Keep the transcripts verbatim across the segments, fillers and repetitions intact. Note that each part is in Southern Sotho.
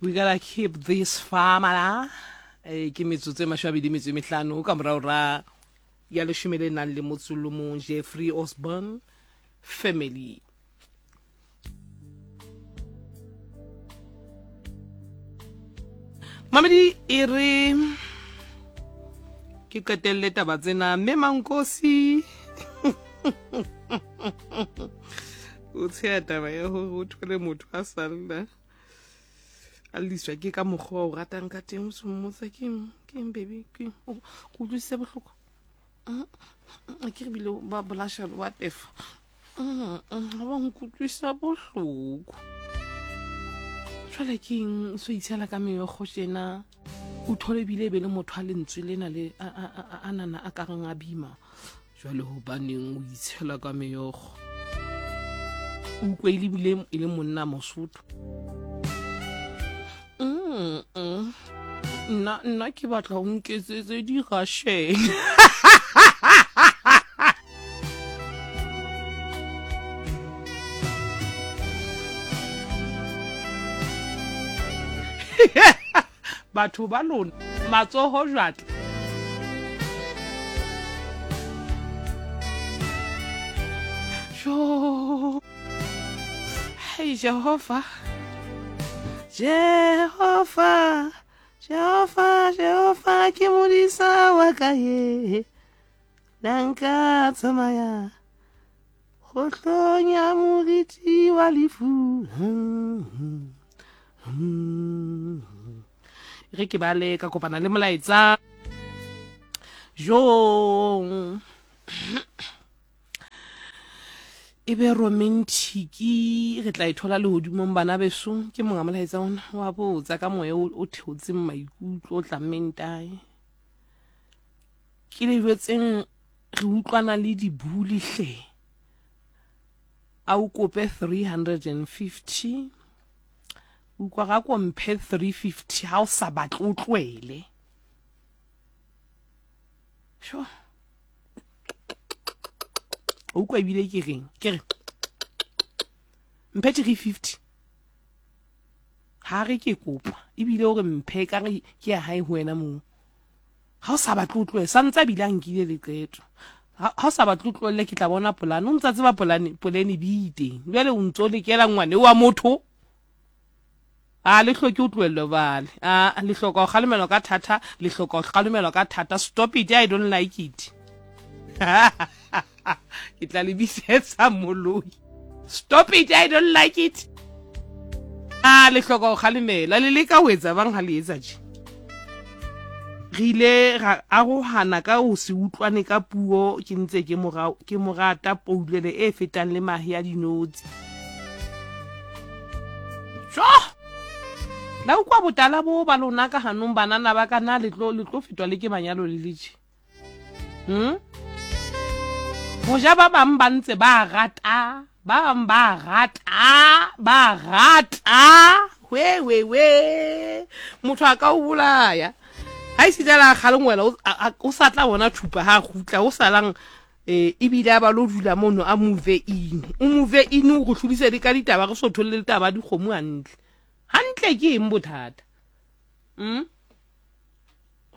We gotta keep this family. Eh, ke metsotso e mashome a mabedi metso e mehlano ka morao ra ya leshome le nang le motso o le mong, Jeffrey Osborne family. Mamedi e re ke qetelle taba tsena mme Mankosi o tsheya taba ya hore o thole motho a salla a lliswa ke ka mokgwa o ratang ka teng, o se mmotsa keng keng baby keng o ko utlwisise bohloko ke re bile ba bolasha wa tefa ba nkutlwisa bohloko. Jwale ke eng o so itshela ka meokgo tjena, o thole ebile e be le motho a lentswe lena le a nana a kareng a bima. Jwale hobaneng o itshela ka meokgo, o utlwe e lebile e le monna Mosotho. Mm -mm. Nna nna ke batla o nketsetse di-Russian. Batho ba lona matsoho jwatla. Jo. Hey Jehova. Jehova, Jehova, Jehova ke modisa wa ka ye. Na nka tsamaya kgohlong ya moriti wa lefu. Re ke bale ka kopana le molaetsa. Jo. E be romantiki re tla e thola lehodimong bana beso. Ke monga molaetsa ona wa botsa ka moya o theotseng maikutlo o tlammeng tae. Ke le jwetseng re utlwana le dibuli hle. A o kope three hundred and fifty. Utlwa ga ko mphe three fifty ha o sa batle o tlohele. Sure. O utlwa ebile ke reng? Ke re mphe three fifty. Ha re ke kopa ebile o re mphe ka re ke ya hae ho wena moo. Ha o sa batle o tlohele, sa ntse a bile a nkile leqeto. Ha o sa batle o tlohelle ke tla bona polane. O ntsa tseba polane, polane bi teng. Jwale o ntso lekela ngwane wa motho. A le hloke o tlohellwe bale. A le hloka ho kgalemelwa ka thata, le hloka ho kgalemelwa ka thata. Stop it, I don't like it. Ke tla le bitsetsa moloi. Stop it, I don't like it. A le hloka ho kgalemela, le leka ho etsa bang ha le etsa tje. Re ile ra arohana ka ho se utlwane ka puo, ke ntse ke mora ke morata poulele e fetang le mahe a dinotshi. Jo! La utlwa botala bo ba lona ka hanong banana ba ka na le tlo le tlo fetwa le ke manyalo le le tje. Hmm? Hoja ba bang ba ntse ba rata, ba bang ba rata, ba rata. We we we. Motho a ka o bolaya. Ha isita la kgalengwela o sa tla bona thupa ha kgutla o salang eh ebile a ba lo dula mono a move in. O move in o go hlodise le ka ditaba re so tholle le taba dikgomo hantle. Hantle ke eng bothata? Mm?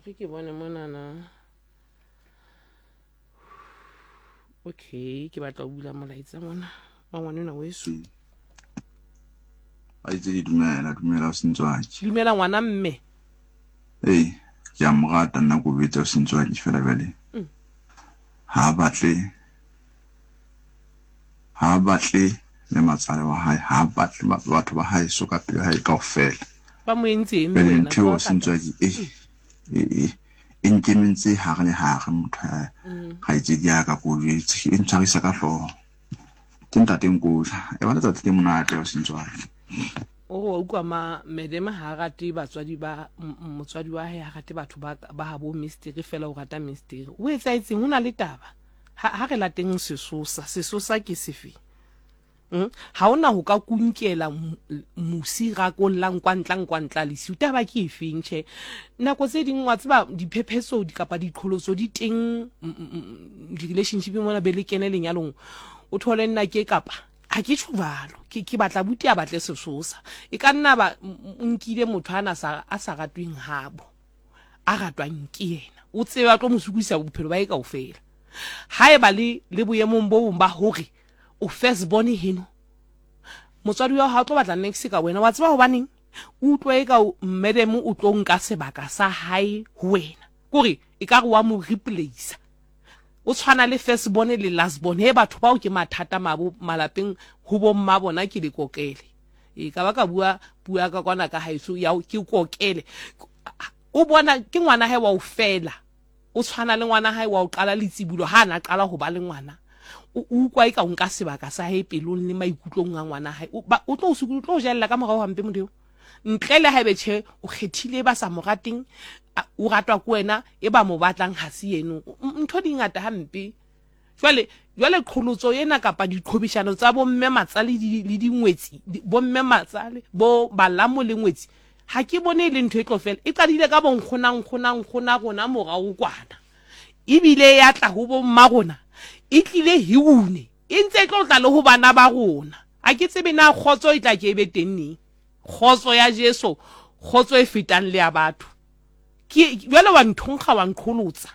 Re ke bone monana. Okay, ke batla ho bula molaetsa mona wa ngwanenwa weso. A itse di dumela, dumela o sentswaki. Dumela ngwana mme. Ee, ke a mo rata nna ko betsa o sentswaki fela jwale. Ha batle ha batle le matsale wa hae, ha batle batho ba hae so ka pelo hae kaofela. Ba mo entse eng wena? Ntho o sentswaki e e e nkemetse hare le hare motho ga itse di ya ka ko jwetse e ntshwarisa ka hlooho. Ke ntate Nkosha e ba letsatsi le monate o sentswaki. O utlwa ma madam ha rate batswadi ba motswadi wa hae, ha rate batho ba ba ha bo mystery fela o rata mystery. O etsaetseng ho na le taba. Ha re lateng sesosa, sesosa ke sefe? Ha ona ho ka kunkela musi ra kollang kwa ntla kwa ntla lesiu. Taba ke efeng tjhe? Nako tse ding wa tseba diphephetso di kapa diqholotso di teng di-relationship mona be le kene lenyalong. O thole nna ke kapa Ha ke tjho jwalo, ke ke batla buti a batle sesosa. E ka nna ba nkile motho ana sa a sa ratweng habo, a ratwang ke yena. O tsebe a tlo mo sokodisa bophelo ba hae kaofela. Haeba le le boemong bo bong ba hore o first born heno, motswadi wa hao ha o tlo batla niks ka wena. Wa tseba hobaneng? O utlwa eka madam o tlo nka sebaka sa hae ho wena. Kore ekare wa mo replace. O tshwana le first born le last born. He batho bao ke mathata mabo malapeng ho bo mma bona ke le kokele. E ka ba ka bua puo ya ka kwana ka haeso ya ke kokele. O bona ke ngwana hae wa o fela. O tshwana le ngwana hae wa o qala letsibulo ha na qala ho ba le ngwana. O utlwa eka o nka sebaka sa hae pelong le maikutlong a ngwana hae. O tlo o tlo jella ka morao hampe motho eo. Ntle le haebe tjhe o kgethile ba sa mo rateng, o ratwa ke wena e ba mo batlang ha se yeno. Ntho di ngata hampe. Jwale jwale qholotso ena kapa diqhobishano tsa bomme matsale le dingwetsi, bomme matsale bo balamo le ngwetsi, ha ke bone e le ntho e tlo fela. E qadile ka bo nkgona nkgona nkgona rona morao kwana, ebile ya tla ho bo mma rona, e tlile hiune, e ntse e tlo tla le ho bana ba rona. Ha ke tsebe na kgotso e tla ke e be teng neng. Kgotso ya Jesu, kgotso e fetang le ya batho. Ke jwale wa nthonkga wa nqholotsa.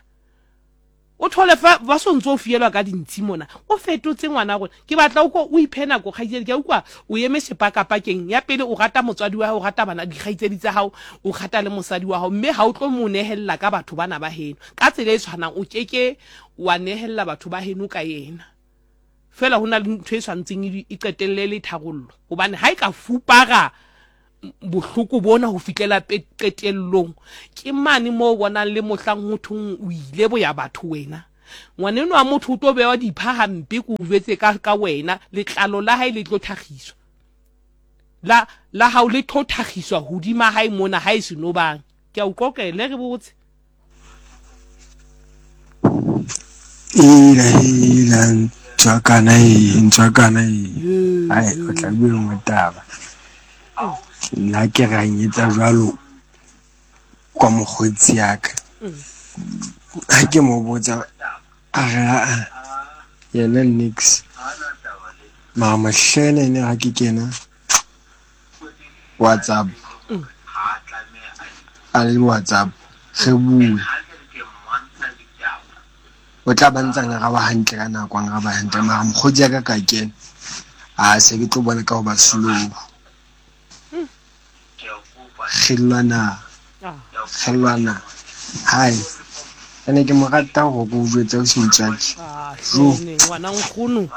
O thole fa ba so ntso o fielwa ka dintshi mona. O fetotse ngwana rona. Ke batla o ko o iphe nako kgaitsedi. Ke a utlwa o eme sepakapakeng. Ya pele o rata motswadi wa hao, o rata bana dikgaitsedi tsa hao, o rata le mosadi wa hao, mme ha o tlo mo nehella ka batho bana ba heno. Ka tsela e tshwanang o keke wa nehella batho ba heno ka yena. Fela ho na le ntho e tshwantseng e qetelle le tharollo. Hobane ha e ka fupara bohloko bona ho fihlela qetellong, ke mane moo bonang le mohlang ho thong o ile boya batho wena. Ngwaneno wa motho o tlo bewa dipha hampe ke o jwetse ka ka wena, letlalo la hae le tlo thakgiswa. La la hao le tlo thakgiswa hodima hae mona ha e seno bang. Ke a o qoqele re botse. Ela ela ntswakana e ntswakana e. Ai o tla bua nngwe taba. Nna ke ranyetsa jwalo kwa mokgotsi ya ka. Ha ke mo botsa a re a yena nix. Mara mohlene ene ha ke kena WhatsApp. A le WhatsApp re bue. O tla ba ntsa ngaraba hantle ka nako, ngaraba hantle. Mara mokgotsi ya ka ka kena, a se ke tlo bona ka ho ba slow. Kgelwana, kgelwana. Hai, ene ke mo rata hore ke o jwetse o se motswadi. Jo, ngwana nkgono.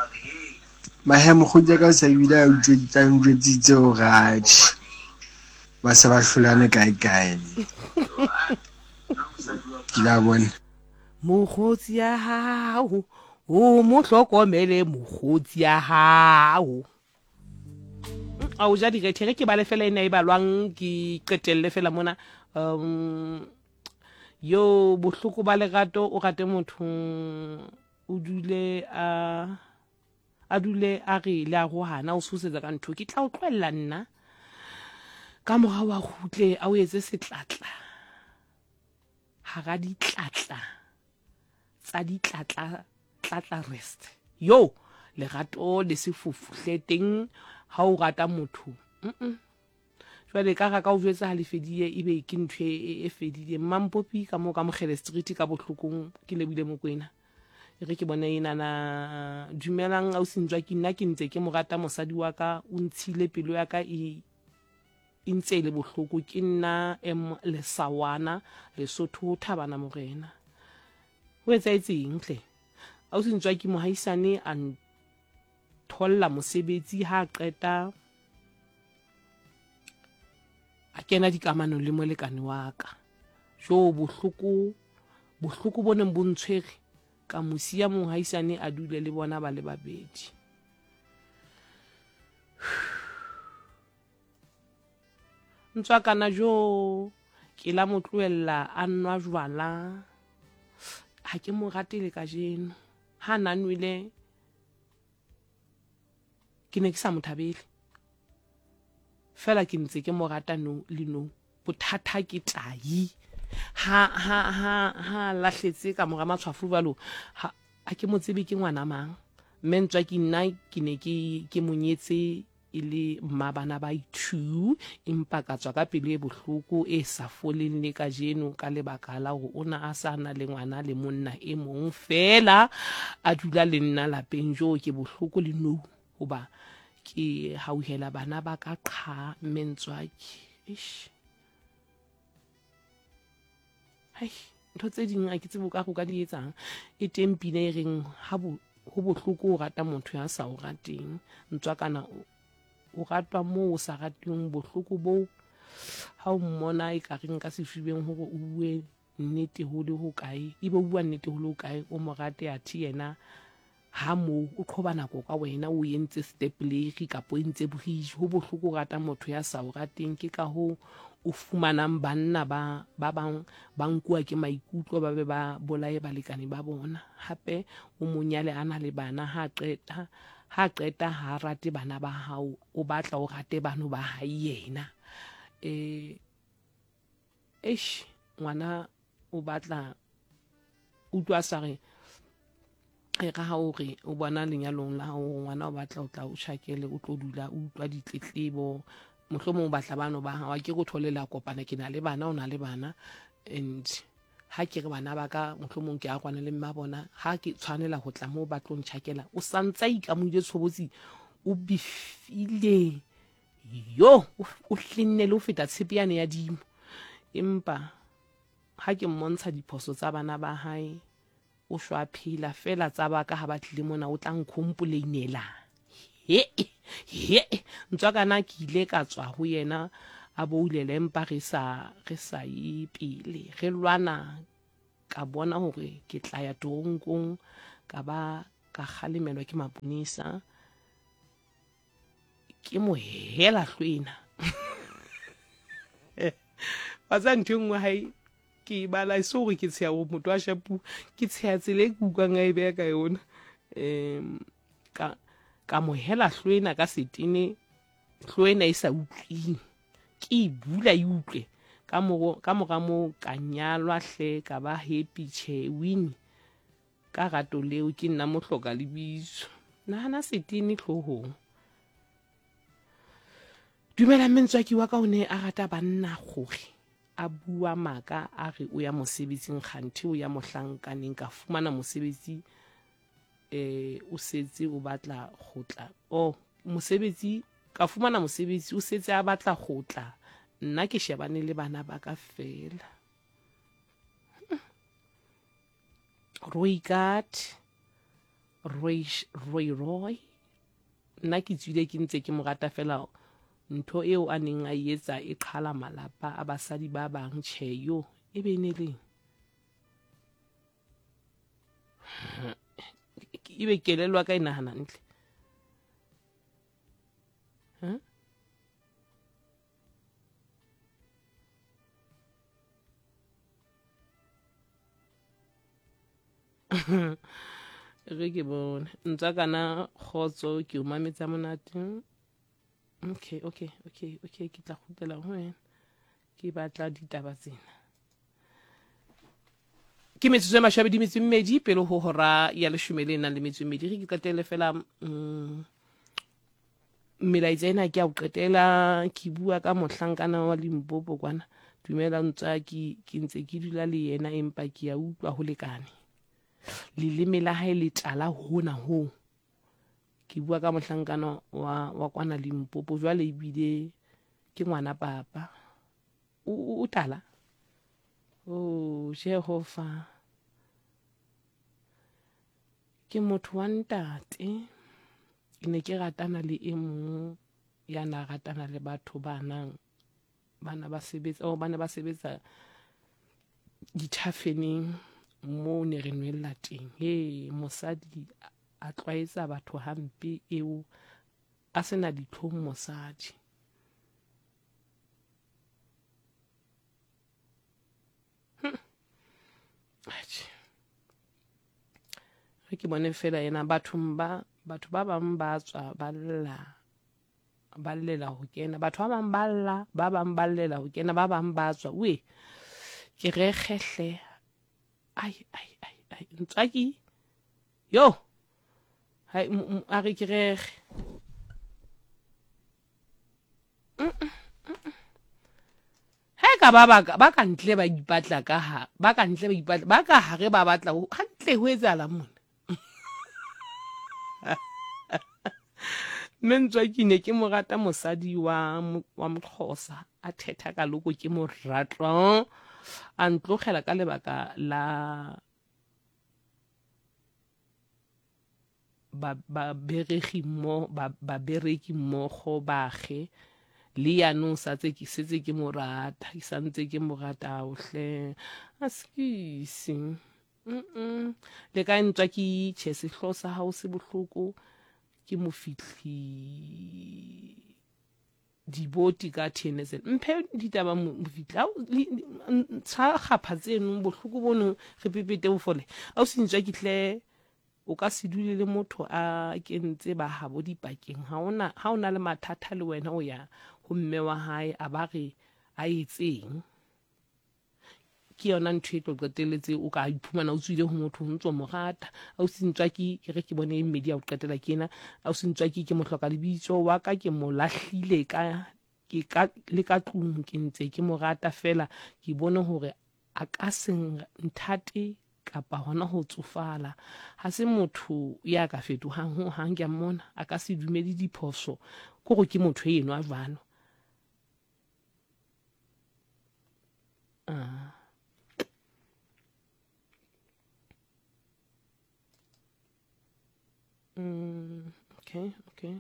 Mahe mokgotsi ka o sa ebile a utlweditse, a njwetsitse hore atjhe ba se ba hlolane kae kae. Ke la bona. Mokgotsi ya hao, o mo hlokomele mokgotsi ya hao. A o ja direthe re ke bale fela ena e balwang ke qetelle fela mona. Um yo bohloko ba lerato o rate motho o dule a a dule a re le a rohana o tshosetsa ka ntho ke tla o tlohella nna ka morao wa kgutle a o etse setlatla hara ditlatla tsa ditlatla tlatla rest yo lerato le sefofu hle teng ha o rata motho. Mm jwale ka ra ka o jwetsa ha le fedile ebe ke ntho e fedile. Mampopi ka mo ka Mokgele Street ka bohlokong ke lebile Mokwena. E re ke bone ena na dumelang ausi Ntswa ke nna ke ntse ke mo rata mosadi wa ka o ntshile pelo ya ka e e ntse e le bohloko. Ke nna M Lesawana Lesotho Thabana Morena. Ho etsahetseng hle? Ausi Ntswa ke mohaisane a tholla mosebetsi ha qeta a kena dikamanong le molekane wa ka. Jo bohloko bohloko bo neng bo ntshwere ka mosia mohaisane a dule le bona ba le babedi. Ntswa kana jo ke la mo tlohella a nwa jwala. Ha ke mo rate le kajeno. Ha na nwele ke ne ke sa mo thabele. Fela ke ntse ke mo rata no le no. Bothata ke tai. Ha ha ha ha lahletse ka mora matshwafo jwalo ha a ke mo tsebe ke ngwana mang. Mme Ntswaki nna ke ne ke ke monyetse e le mma bana ba two, empa ka tswa ka pelo e bohloko e sa foleng le kajeno ka lebaka la hore o na a sa na le ngwana le monna e mong fela a dula le nna lapeng. Jo ke bohloko le nou hoba ke hauhela bana ba ka qha. Mme Ntswaki, eish, hai, ntho tse ding a ke tsebe o ka re o ka di etsang. E teng pina e reng ha bo ho bohloko o rata motho ya sa o rateng. Ntswakana o ratwa moo o sa rateng, bohloko boo ha o mmona e ka reng ka sefubeng hore o bue nnete ho le hokae, ebe o bua nnete ho le hokae, o mo rate athe yena ha moo o qhoba nako ka wena, o entse stepleri kapa o entse bridge. Ho bohloko o rata motho ya sa o rateng. Ke ka hoo o fumanang banna ba ba bang ba nkuwa ke maikutlo, ba be ba bolaye balekane ba bona. Hape o monyale a na le bana, ha qeta ha qeta ha rate bana ba hao, o batla o rate bano ba hae yena. Eh eish, ngwana o batla utlwa sa re e ka ha o re o bona lenyalong la hao ngwana o batla o tla o tjhakele, o tlo dula o utlwa ditletlebo, mohlomong o batla bano ba hao, ke go thole la kopana, ke na le bana, o na le bana, and ha ke re bana ba ka mohlomong ke a kwana le mma bona, ha ke tshwanela ho tla moo ba tlo ntjhakela, o santsa ikamohile tshobotsi, o bifile yo, o hlenne le ho feta tshepe yane ya dimo. Empa ha ke mmontsha diphoso tsa bana ba hae, o shwa phela fela tsa ba ka ha ba tlile mona o tla nkhompoleinela. He he, Ntswakana ke ile ka tswa ho yena a boulele, empa re sa re sa ye pele, re lwana, ka bona hore ke tla ya toronkong, ka ba ka kgalemelwa ke maponesa, ke mo hela hlwena. Wa tseba ntho e nngwe hae ke bala e se hore ke tsheha hore motho a shapu, ke tsheha tsela e ke utlwang a e beha ka yona. Um ka ka mo hela hlwena ka setene, hlwena e sa utlwing, ke e bula e utlwe. Ka moro ka mora moo ka nyalwa hle, ka ba happy. Tjhe, Winnie ka rato leo ke nna mohloka lebitso. Nahana setene hloohong. Dumela mme Ntswaki wa ka, o ne a rata banna gore a bua maka a re o ya mosebetsing, kganthe o ya mohlankaneng. Ka fumana mosebetsi eh o setse o batla go tla, oh mosebetsi ka fumana mosebetsi o setse a batla go tla, nna ke shebane le bana ba ka fela. Roy kat Roy Roy Roy, nna ke tswile ke ntse ke mo rata fela, ntho eo a neng a etsa e qhala malapa a basadi ba bang. Tjhe, yo e be ne leng ebe kelellwa ka e nahana ntle. Ha re ke bone Ntswakana kgotso, ke o mametsa monate. Okay, okay, okay, okay, ke tla kgutlela ho wena, ke batla ditaba tsena. Ke metsotso e mashome a metso e mmedi pele ho hora ya leshome le nang le metso e mmedi. Re ke qetelle fela mm, melaetsa ena ke a o qetela. Ke bua ka mohlankana wa Limpopo kwana. Dumela Ntswaki, ke ntse ke dula le yena empa ke a utlwa ho lekane. Leleme la hae le tala hona ho. Ke bua ka mohlankana wa wa kwana Limpopo, jwale ebile ke ngwana papa. O o tala. Oh Jehova, ke motho wa ntate. Ke ne ke ratana le e mong ya na ratana le batho ba nang bana ba sebetsa, oh bana ba sebetsa dithafeneng moo ne re nwella teng. He mosadi a tlwaetsa batho hampe eo, a sena ditlhong mosadi. Atjhe, re ke bone fela ena bathong ba batho ba bang ba tswa ba lla, ba llela ho kena, batho ba bang ba lla, ba bang ba llela ho kena, ba bang ba tswa. We ke re kgehle. Ai ai ai ai, Ntswaki yo. Hai a re ke rege. Ha ka ba ba ba ka ntle ba ipatla ka ha ba ka ntle ba ipatla ba ka hare ba batla hantle ho etsahala mona. Mme ntswa ke ne ke mo rata mosadi wa wa Moxhosa a thetha ka loko ke mo ratwa a ntlogela ka lebaka la ba ba beregi mo ba ba bereki mmogo bage le yanong sa tse ke setse ke mo rata ke santse ke mo rata ohle a skisi mm le ka ntswa ke tjhe sehlo sa hao se bohloko ke mo fihli diboti ka T N S L mphe ditaba mo fihla ntsha kgapha tseno bohloko bono re pepete bofole a o se ntswa ke tle o ka se dule le motho a kentse ba habo dipakeng ha ona ha ona le mathata le wena o ya ho mme wa hae a ba re a etseng ke yona ntho e tlo qetelletse o ka iphumana o tswile ho motho o ntso mo rata a o se ntswa ke ke re ke bone e mmedi ya ho qetela ke ena a o se ntswa ke ke mo hloka lebitso wa ka ke mo lahlile ka ke ka le ka tlung ke ntse ke mo rata fela ke bone hore a ka se nthate kapa hona ho tsofala ha se motho ya ka fetohang ho hang ke a mmona a ka se dumele diphoso ko go ke motho eno a jwalo ah mm okay okay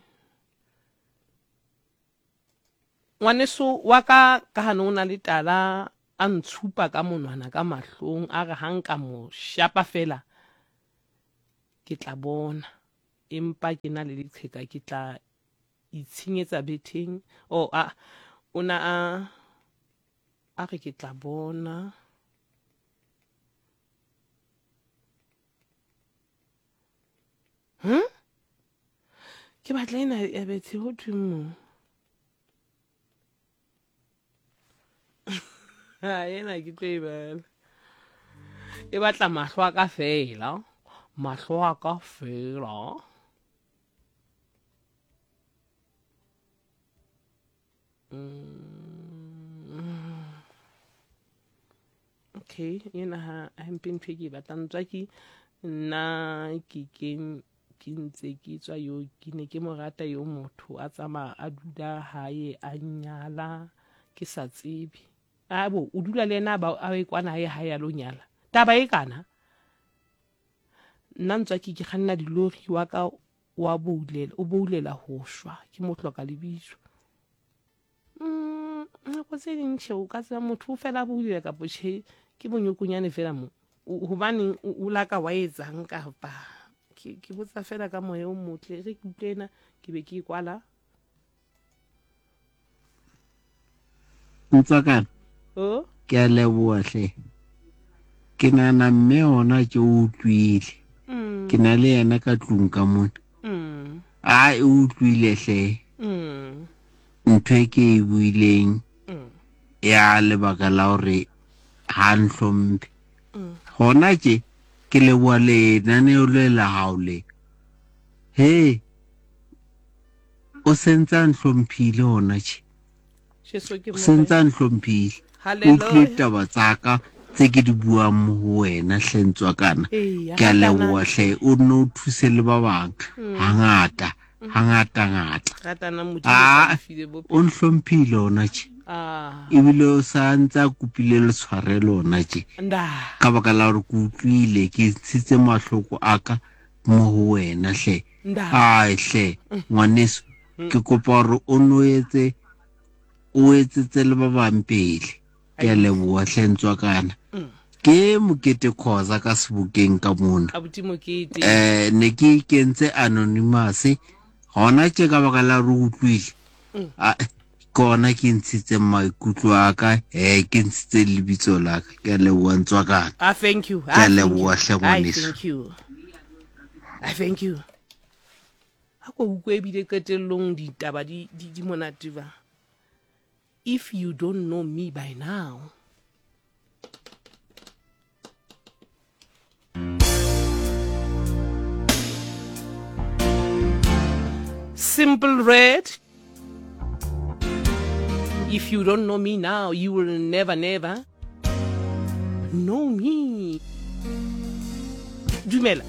ngwaneso wa ka ka hane o na le tala a ntshupa ka monwana ka mahlong a re ha nka mo shapa fela ke tla bona empa ke na le leqheka ke tla itshenyetsa betheng o a o na a a re ke tla bona hm ke batla ena ya bethe ho thwe mo ha ena ke tlo e bala e batla mahlo a ka fela mahlo a ka fela mm. Okay ena ha ha mpe ntho e ke e batlang tswa ke nna ke ke ke ntse ke tswa yo ke ne ke mo rata yo motho a tsamaya a dula hae a nyala ke sa tsebe a bo o dula le yena ba a e kwana hae ha ya lo nyala taba e kana nna ntswa ke ke kganna dilori wa ka wa boulela o boulela ho shwa ke mo hloka lebitso mm nako tse ding tjhe o ka tseba motho o fela boulela kapo tjhe ke bonyokonyane fela mo hobaneng o laka wa etsang kapa ke ke botsa fela ka moya o motle re ke utlwe ena ke be ke e kwala Ntswakana o ke a leboha hle ke nahana mme ona ke o utlwile mm ke na le yena ka tlung ka mona mm a e utlwile hle mm ntho e ke e buileng mm ya lebaka la hore ha nhlomphe mm gona tje ke leboha lenaneo le la hao le he o sentse a nhlomphile hona tje Jesu ke o sentse morena a nhlomphile o utlwile haleluya ditaba tsa ka tse ke di buang mo ho wena hle Ntswakana eya ke a ratanang leboha hle o nne o thuse le ba bang mm hangata hangata ngata ratanang modimo o sa a le file o bophelo nhlomphile ona tje ah ebile o sa ntse a kopile le tshwarelo ona tje nda ka baka la hore ke utlwile ke ntshitse mahloko a ka mo ho wena hle nda ai hle ngwaneso Mm. ke kopa hore o no etse o etsetse le ba bang pele ke a Ai. leboha hle Ntswakana Mm. ke Mokete Khoza ka sebokeng ka mona abuti mokete eh ne ke ikentse anonymous gona tje ka baka la hore o utlwile Mm. a ke ona ke ntshitseng maikutlo a ka eh ke ntshitse lebitso la ka ke a leboha Ntswakana ah thank you ke a ah thank you leboha hle ai ngwaneso thank you ah thank you a ko utlwe ebile qetellong ditaba di di di monate ba if you don't know me by now Simple Red. If you don't know me now, you will never, never know me. Dumela.